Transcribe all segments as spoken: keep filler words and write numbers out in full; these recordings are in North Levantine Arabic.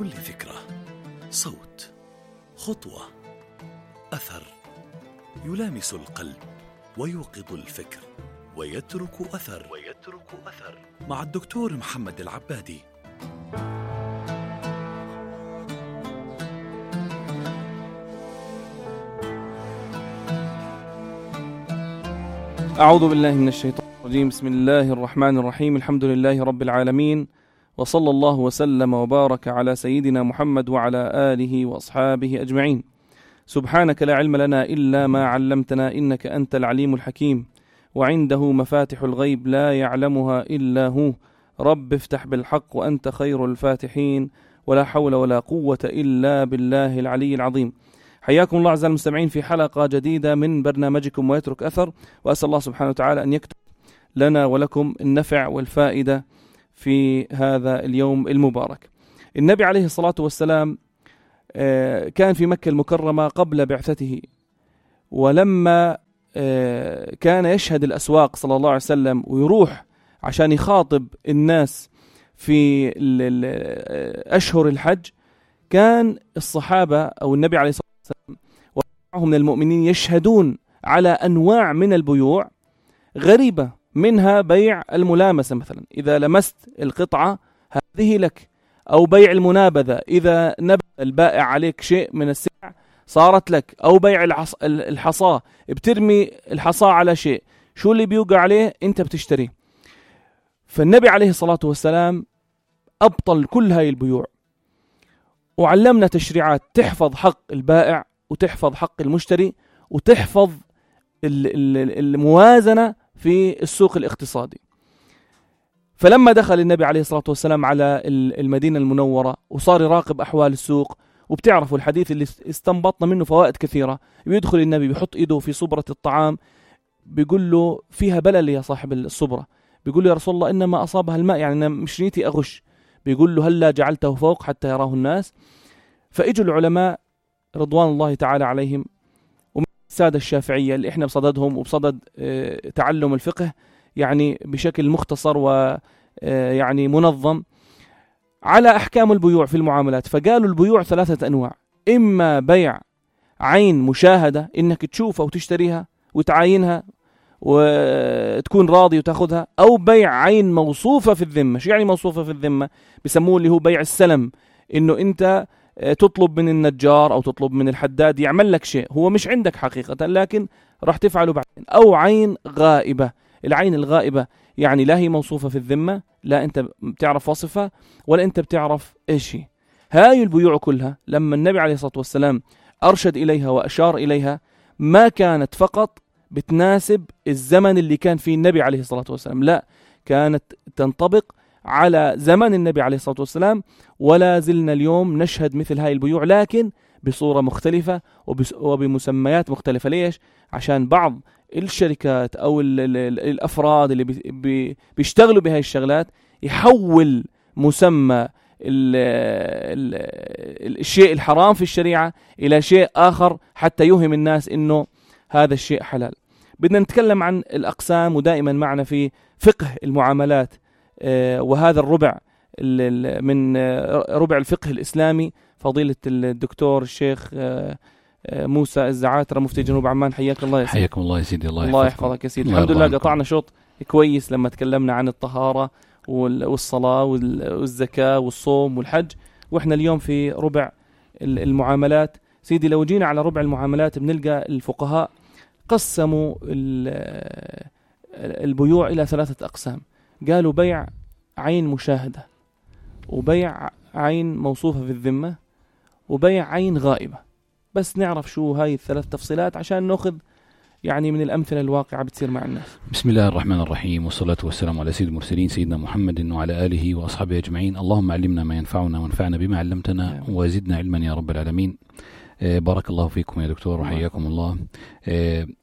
كل فكرة، صوت، خطوة، أثر يلامس القلب ويوقظ الفكر ويترك أثر ويترك أثر مع الدكتور محمد العبادي. أعوذ بالله من الشيطان الرجيم. بسم الله الرحمن الرحيم. الحمد لله رب العالمين، وصلى الله وسلم وبارك على سيدنا محمد وعلى آله وأصحابه أجمعين. سبحانك لا علم لنا إلا ما علمتنا، إنك أنت العليم الحكيم، وعنده مفاتح الغيب لا يعلمها إلا هو. رب افتح بالحق وأنت خير الفاتحين، ولا حول ولا قوة إلا بالله العلي العظيم. حياكم الله أعزائي المستمعين في حلقة جديدة من برنامجكم ويترك أثر، وأسأل الله سبحانه وتعالى أن يكتب لنا ولكم النفع والفائدة في هذا اليوم المبارك. النبي عليه الصلاة والسلام كان في مكة المكرمة قبل بعثته، ولما كان يشهد الأسواق صلى الله عليه وسلم ويروح عشان يخاطب الناس في أشهر الحج، كان الصحابة أو النبي عليه الصلاة والسلام ومعهم من المؤمنين يشهدون على أنواع من البيوع غريبة، منها بيع الملامسة، مثلا إذا لمست القطعة هذه لك، أو بيع المنابذة، إذا نبذ البائع عليك شيء من السلع صارت لك، أو بيع الحصى، بترمي الحصى على شيء، شو اللي بيوقع عليه أنت بتشتريه. فالنبي عليه الصلاة والسلام أبطل كل هاي البيوع، وعلمنا تشريعات تحفظ حق البائع وتحفظ حق المشتري وتحفظ الموازنة في السوق الاقتصادي. فلما دخل النبي عليه الصلاة والسلام على المدينة المنورة وصار يراقب أحوال السوق، وبتعرفوا الحديث اللي استنبطنا منه فوائد كثيرة، بيدخل النبي بيحط إيده في صبرة الطعام، بيقول له فيها بلل يا صاحب الصبرة، بيقول له يا رسول الله إنما أصابها الماء، يعني أنا مش نيتي أغش. بيقول له هلا جعلته فوق حتى يراه الناس. فإجوا العلماء رضوان الله تعالى عليهم ومن السادة الشافعية اللي إحنا بصددهم وبصدد اه تعلم الفقه يعني بشكل مختصر ويعني منظم على أحكام البيوع في المعاملات. فقالوا البيوع ثلاثة أنواع: إما بيع عين مشاهدة، إنك تشوفها وتشتريها وتعاينها وتكون راضي وتأخذها، أو بيع عين موصوفة في الذمة. شو يعني موصوفة في الذمة؟ بيسموه اللي هو بيع السلم، إنه أنت تطلب من النجار أو تطلب من الحداد يعمل لك شيء هو مش عندك حقيقة لكن راح تفعله بعدين. أو عين غائبة. العين الغائبة يعني لا هي موصوفة في الذمة، لا أنت بتعرف وصفها ولا أنت بتعرف إيش هي. هاي البيوع كلها لما النبي عليه الصلاة والسلام أرشد إليها وأشار إليها، ما كانت فقط بتناسب الزمن اللي كان فيه النبي عليه الصلاة والسلام، لا، كانت تنطبق على زمن النبي عليه الصلاة والسلام، ولا زلنا اليوم نشهد مثل هاي البيوع لكن بصورة مختلفة وبمسميات مختلفة. ليش؟ عشان بعض الشركات أو ال ال ال الأفراد اللي بي بي بيشتغلوا بهاي الشغلات يحول مسمى ال ال ال الشيء الحرام في الشريعة إلى شيء آخر حتى يوهم الناس إنه هذا الشيء حلال. بدنا نتكلم عن الأقسام، ودائما معنا في فقه المعاملات آه وهذا الربع من آه ربع الفقه الإسلامي فضيلة الدكتور الشيخ آه موسى الزعاترة مفتي جنوب عمان. حياك الله يا سيدي. حياكم الله يا سيدي. الله, الله يحفظك يا سيدي. الحمد لله قطعنا شوط كويس لما تكلمنا عن الطهارة والصلاة والزكاة والصوم والحج، وإحنا اليوم في ربع المعاملات. سيدي لو جينا على ربع المعاملات بنلقى الفقهاء قسموا البيوع إلى ثلاثة أقسام. قالوا بيع عين مشاهدة، وبيع عين موصوفة في الذمة، وبيع عين غائبة. بس نعرف شو هاي الثلاث تفصيلات عشان نأخذ يعني من الأمثلة الواقعة بتصير مع الناس. بسم الله الرحمن الرحيم، والصلاة والسلام على سيد المرسلين سيدنا محمد وعلى آله وأصحابه أجمعين. اللهم علمنا ما ينفعنا وانفعنا بما علمتنا وزدنا علما يا رب العالمين. بارك الله فيكم يا دكتور وحياكم الله.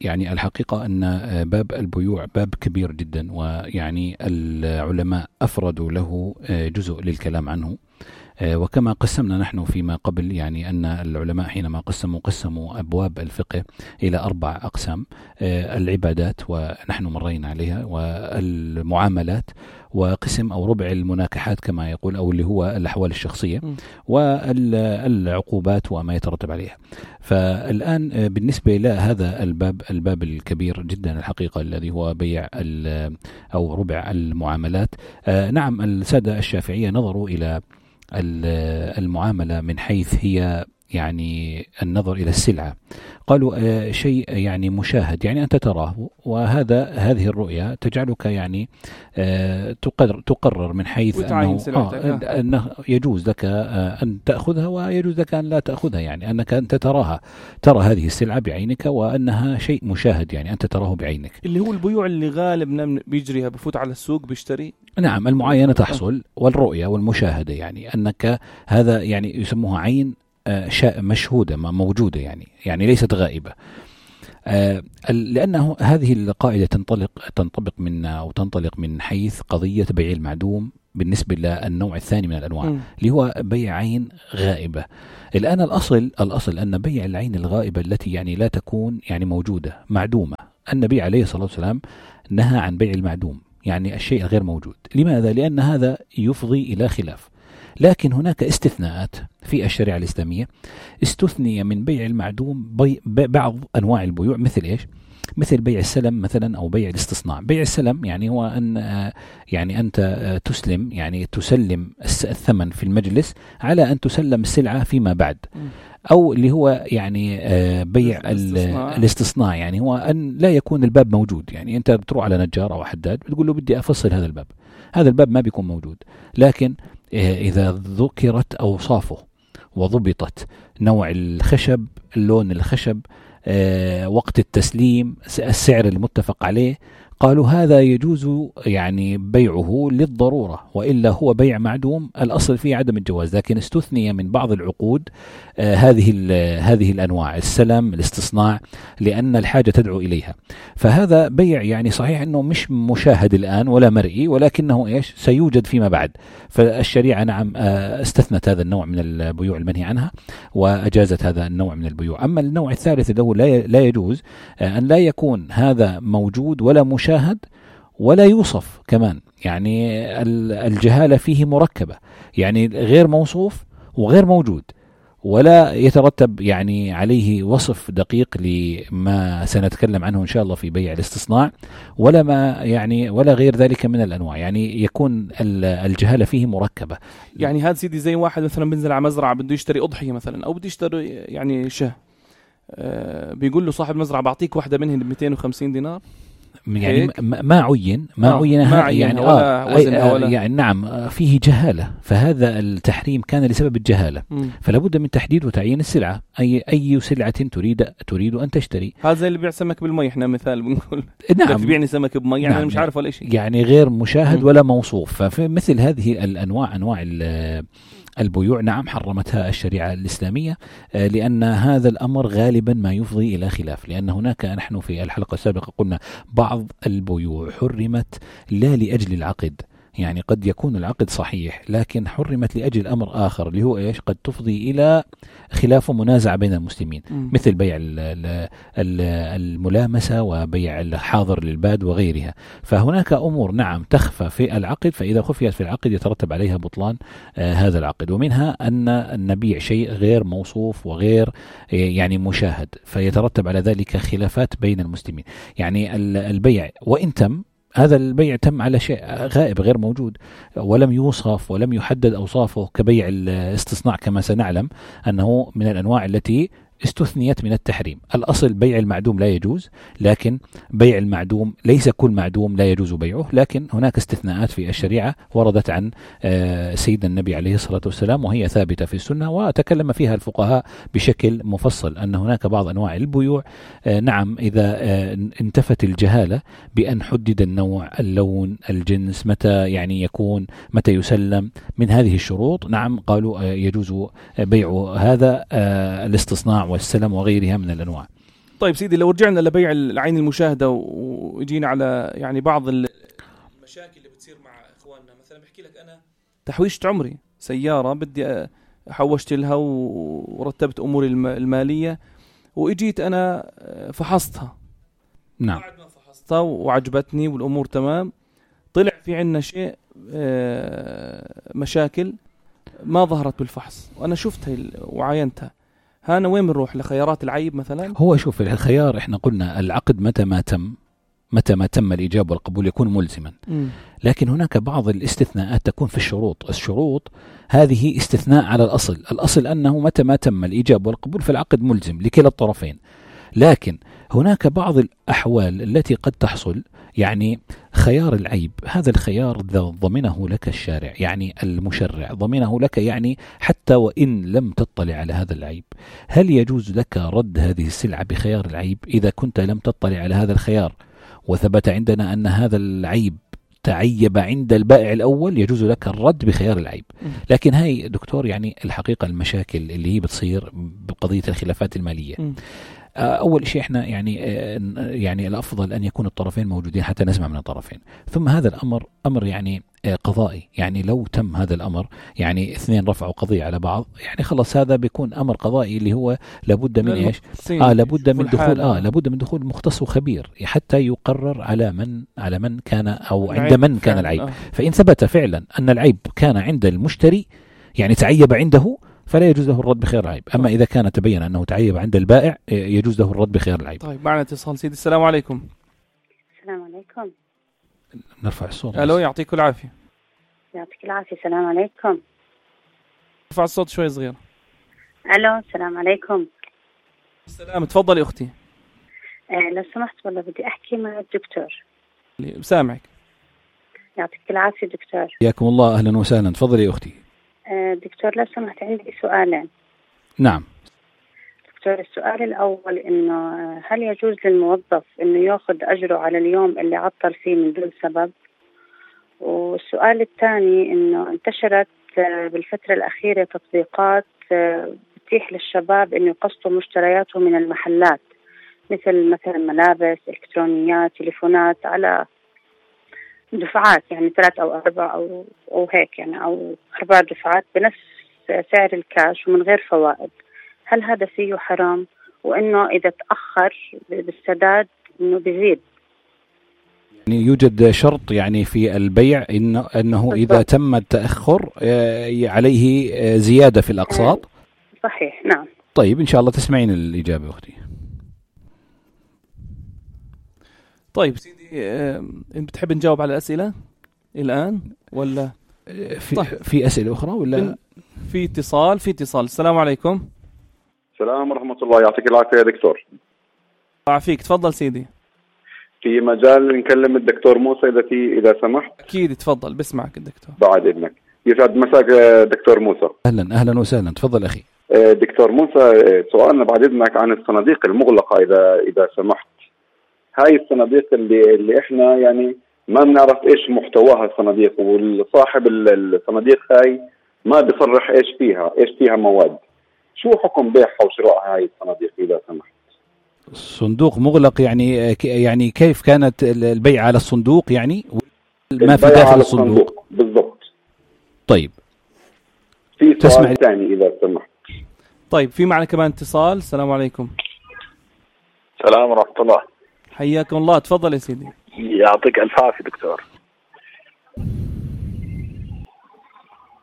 يعني الحقيقة أن باب البيوع باب كبير جدا، ويعني العلماء أفردوا له جزء للكلام عنه. وكما قسمنا نحن فيما قبل، يعني أن العلماء حينما قسموا قسموا أبواب الفقه إلى أربع أقسام: العبادات ونحن مرينا عليها، والمعاملات، وقسم أو ربع المناكحات كما يقول، أو اللي هو الأحوال الشخصية والعقوبات وما يترتب عليها. فالآن بالنسبة إلى هذا الباب الباب الكبير جدا الحقيقة الذي هو بيع أو ربع المعاملات، نعم السادة الشافعية نظروا إلى المعاملة من حيث هي يعني النظر إلى السلعة. قالوا آه شيء يعني مشاهد، يعني أنت تراه، وهذا هذه الرؤية تجعلك يعني آه تقرر, تقرر من حيث أنه, آه أنه يجوز لك آه أن تأخذها ويجوز لك أن لا تأخذها، يعني أنك أنت تراها ترى هذه السلعة بعينك وأنها شيء مشاهد، يعني أنت تراه بعينك، اللي هو البيوع اللي غالبنا بيجريها، بفوت على السوق بيشتري. نعم المعاينة تحصل والرؤية والمشاهدة، يعني أنك هذا يعني يسموها عين مشهودة موجودة، يعني يعني ليست غائبة، آه لأنه هذه القاعدة تنطلق تنطبق من أو تنطلق من حيث قضية بيع المعدوم بالنسبة للنوع الثاني من الأنواع م. اللي هو بيع عين غائبة. الآن الأصل الأصل أن بيع العين الغائبة التي يعني لا تكون يعني موجودة معدومة، النبي عليه الصلاة والسلام نهى عن بيع المعدوم، يعني الشيء الغير موجود. لماذا؟ لأن هذا يفضي إلى خلاف. لكن هناك استثناءات في الشريعة الإسلامية، استثني من بيع المعدوم بي بعض أنواع البيوع، مثل إيش؟ مثل بيع السلم مثلا أو بيع الاستصناع. بيع السلم يعني هو أن يعني أنت تسلم يعني تسلم الثمن في المجلس على أن تسلم السلعة فيما بعد، أو اللي هو يعني بيع الاستصناع. الاستصناع يعني هو أن لا يكون الباب موجود، يعني أنت بتروح على نجار أو حداد بتقول له بدي أفصل هذا الباب، هذا الباب ما بيكون موجود، لكن إذا ذكرت أوصافه وضبطت نوع الخشب، اللون الخشب، وقت التسليم، السعر المتفق عليه، قالوا هذا يجوز يعني بيعه للضرورة، وإلا هو بيع معدوم الأصل فيه عدم الجواز. لكن استثني من بعض العقود آه هذه هذه الأنواع، السلم، الاستصناع، لأن الحاجة تدعو إليها. فهذا بيع يعني صحيح أنه مش مشاهد الآن ولا مرئي، ولكنه إيش سيوجد فيما بعد. فالشريعة نعم آه استثنت هذا النوع من البيوع المنهي عنها وأجازت هذا النوع من البيوع. أما النوع الثالث اللي هو لا يجوز آه أن لا يكون هذا موجود ولا مشاهد شاهد ولا يوصف كمان، يعني الجهالة فيه مركبة، يعني غير موصوف وغير موجود، ولا يترتب يعني عليه وصف دقيق لما سنتكلم عنه إن شاء الله في بيع الاستصناع، ولا ما يعني ولا غير ذلك من الأنواع، يعني يكون الجهالة فيه مركبة. يعني هذا سيدي زي واحد مثلا بينزل على مزرعة بده يشتري أضحية مثلا، أو بده يشتري يعني شه، آه بيقول له صاحب مزرعة بعطيك واحدة منهن ب مئتين وخمسين دينار، يعني ما عين ما آه عين ما يعني آه ولا يعني نعم فيه جهالة. فهذا التحريم كان لسبب الجهالة، م. فلا بد من تحديد وتعيين السلعة، أي أي سلعة تريد تريد أن تشتري. هذا زي اللي بيع سمك بالمي، احنا مثال بنقول نعم بيعني سمك بمي، يعني نعم أنا مش عارف ولا شيء، يعني غير مشاهد م. ولا موصوف. ففي مثل هذه الأنواع أنواع البيوع نعم حرمتها الشريعة الإسلامية، لأن هذا الأمر غالبا ما يفضي إلى خلاف. لأن هناك نحن في الحلقة السابقة قلنا بعض البيوع حرمت لا لأجل العقد، يعني قد يكون العقد صحيح لكن حرمت لأجل أمر آخر اللي هو إيش؟ قد تفضي إلى خلاف ومنازعة بين المسلمين، م. مثل بيع الملامسة وبيع الحاضر للباد وغيرها. فهناك أمور نعم تخفى في العقد، فإذا خفيت في العقد يترتب عليها بطلان آه هذا العقد. ومنها أن نبيع شيء غير موصوف وغير يعني مشاهد، فيترتب على ذلك خلافات بين المسلمين. يعني البيع وإن تم، هذا البيع تم على شيء غائب غير موجود ولم يوصف ولم يحدد أوصافه، كبيع الاستصناع كما سنعلم أنه من الأنواع التي استثنيت من التحريم. الأصل بيع المعدوم لا يجوز، لكن بيع المعدوم ليس كل معدوم لا يجوز بيعه، لكن هناك استثناءات في الشريعة وردت عن سيدنا النبي عليه الصلاة والسلام، وهي ثابتة في السنة وتكلم فيها الفقهاء بشكل مفصل، أن هناك بعض أنواع البيوع نعم إذا انتفت الجهالة بأن حدد النوع، اللون، الجنس، متى يعني يكون، متى يسلم، من هذه الشروط نعم قالوا يجوز بيع هذا الاستصناع والسلم وغيرها من الأنواع. طيب سيدي، لو رجعنا لبيع العين المشاهدة ويجينا على يعني بعض المشاكل اللي بتصير مع إخواننا، مثلا بحكي لك أنا تحويشة عمري سيارة بدي حوشت لها ورتبت أموري المالية، وإجيت أنا فحصتها، نعم بعد ما فحصتها وعجبتني والأمور تمام، طلع في عنا شيء مشاكل ما ظهرت بالفحص وأنا شفتها وعاينتها، هانا وين بنروح لخيارات العيب مثلا؟ هو شوف الخيار احنا قلنا العقد متى ما تم متى ما تم الإجابة والقبول يكون ملزما، م. لكن هناك بعض الاستثناءات تكون في الشروط. الشروط هذه استثناء على الأصل، الأصل أنه متى ما تم الإجابة والقبول فالعقد ملزم لكلا الطرفين، لكن هناك بعض الأحوال التي قد تحصل، يعني خيار العيب هذا الخيار ضمنه لك الشارع، يعني المشرع ضمنه لك، يعني حتى وإن لم تطلع على هذا العيب هل يجوز لك رد هذه السلعة بخيار العيب؟ إذا كنت لم تطلع على هذا الخيار وثبت عندنا أن هذا العيب تعيب عند البائع الأول يجوز لك الرد بخيار العيب. لكن هاي دكتور يعني الحقيقة المشاكل اللي هي بتصير بقضية الخلافات المالية، أول شيء إحنا يعني يعني الأفضل أن يكون الطرفين موجودين حتى نسمع من الطرفين، ثم هذا الأمر أمر يعني قضائي، يعني لو تم هذا الأمر يعني اثنين رفعوا قضية على بعض يعني خلص هذا بيكون أمر قضائي اللي هو لابد من إيش؟ آه لابد من دخول آه لابد من دخول مختص وخبير حتى يقرر على من على من كان أو عند من كان العيب. آه. فإن ثبت فعلا أن العيب كان عند المشتري يعني تعيب عنده فلا يجوز له الرد بخيار العيب، أما إذا كان تبين أنه تعيب عند البائع يجوز له الرد بخيار العيب. طيب معنا اتصال سيدي، السلام عليكم. السلام عليكم. نرفع الصوت. ألو يعطيك العافية. يعطيك العافية. السلام عليكم. ارفع الصوت شوي صغير. ألو السلام عليكم. السلام، تفضلي أختي. آه لو سمحت والله بدي أحكي مع الدكتور. سامعك. يعطيك العافية دكتور. حياكم الله، أهلا وسهلا، تفضلي أختي. دكتور لو سمحت عندي سؤالين. نعم دكتور، السؤال الأول إنه هل يجوز للموظف إنه يأخذ أجره على اليوم اللي عطل فيه من دون سبب؟ والسؤال الثاني إنه انتشرت بالفترة الأخيرة تطبيقات بتتيح للشباب إنه يقسطوا مشترياتهم من المحلات، مثل مثلا ملابس، إلكترونيات، تليفونات، على دفعات يعني ثلاث أو أربع أو أو هيك يعني أو أربع دفعات بنفس سعر الكاش ومن غير فوائد. هل هذا فيه حرام؟ وإنه إذا تأخر بالسداد إنه بيزيد. يعني يوجد شرط يعني في البيع إنه أنه إذا تم التأخر عليه زيادة في الأقساط. صحيح نعم. طيب إن شاء الله تسمعين الإجابة أختي. طيب سيدي، أنت بتحب نجاوب على الأسئلة الآن ولا في طيب. في أسئلة أخرى ولا في اتصال؟ في اتصال. السلام عليكم. السلام ورحمة الله، يعطيك العافية يا دكتور. عافيك، تفضل سيدي. في مجال نكلم الدكتور موسى إذا في إذا سمحت. أكيد تفضل، بسمعك الدكتور. بعد إذنك. يسعد مساك دكتور موسى. أهلا أهلا وسهلا، تفضل أخي. دكتور موسى، سؤالنا بعد إذنك عن الصناديق المغلقة إذا إذا سمحت. هاي الصناديق اللي اللي إحنا يعني ما بنعرف إيش محتواها الصناديق، والصاحب الصناديق هاي ما بيصرح إيش فيها إيش فيها مواد. شو حكم بيعها وشرائها هاي الصناديق إذا سمحت؟ صندوق مغلق يعني يعني كيف كانت البيع على الصندوق يعني ما في داخل الصندوق بالضبط. طيب في سؤال ثاني إذا سمحت. طيب في معنا كمان اتصال. السلام عليكم. السلام ورحمة الله. حياكم الله، تفضل يا سيدي. يعطيك الف عافية دكتور.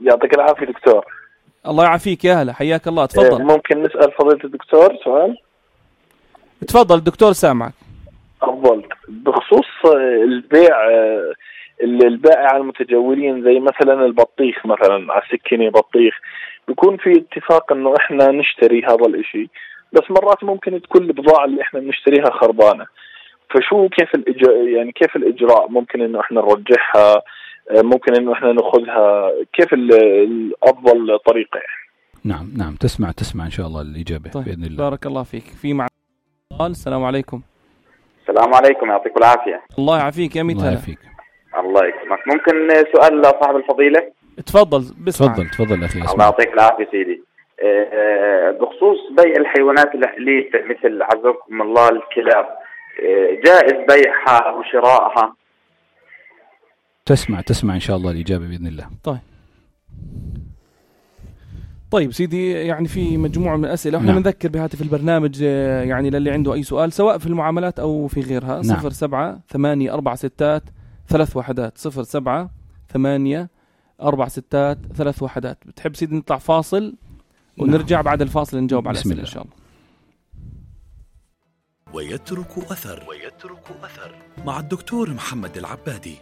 يعطيك العافية دكتور. الله يعافيك يا هلا، حياك الله، تفضل. ممكن نسأل فضيلة الدكتور سؤال؟ تفضل الدكتور سامعك. أفضل بخصوص البيع البائع على المتجولين، زي مثلا البطيخ مثلا على السكينة بطيخ، بيكون في اتفاق انه احنا نشتري هذا الاشي، بس مرات ممكن تكون البضاعة اللي احنا بنشتريها خربانة، فشو كيف الإجراء يعني كيف الإجراء؟ ممكن إنه إحنا نرجعها، ممكن إنه إحنا نأخذها، كيف الأفضل طريقة؟ نعم نعم تسمع تسمع إن شاء الله الإجابة. طيب. بإذن الله. بارك الله فيك. في مع السلام عليكم. السلام عليكم، يعطيكم العافية. الله يعافيك يا ميت. الله يعافيك. الله يكرمك. ممكن سؤال لصاحب الفضيلة؟ تفضل بسمع. تفضل تفضل أخي. الله يعطيك العافية سيدي. بخصوص بيع الحيوانات الأليفة مثل عزكم الله الكلاب، جائز بيعها وشرائها؟ تسمع تسمع إن شاء الله الإجابة بإذن الله. طيب طيب سيدي، يعني في مجموعة من الأسئلة، وإحنا بنذكر بهاتف البرنامج يعني للي عنده أي سؤال سواء في المعاملات أو في غيرها. نعم. صفر سبعة ثمانية أربعة ستات ثلاث وحدات صفر سبعة ثمانية أربع ستات ثلاث وحدات. بتحب سيدي نطلع فاصل ونرجع بعد الفاصل نجاوب على الأسئلة إن شاء الله. ويترك أثر ويترك أثر مع الدكتور محمد العبادي.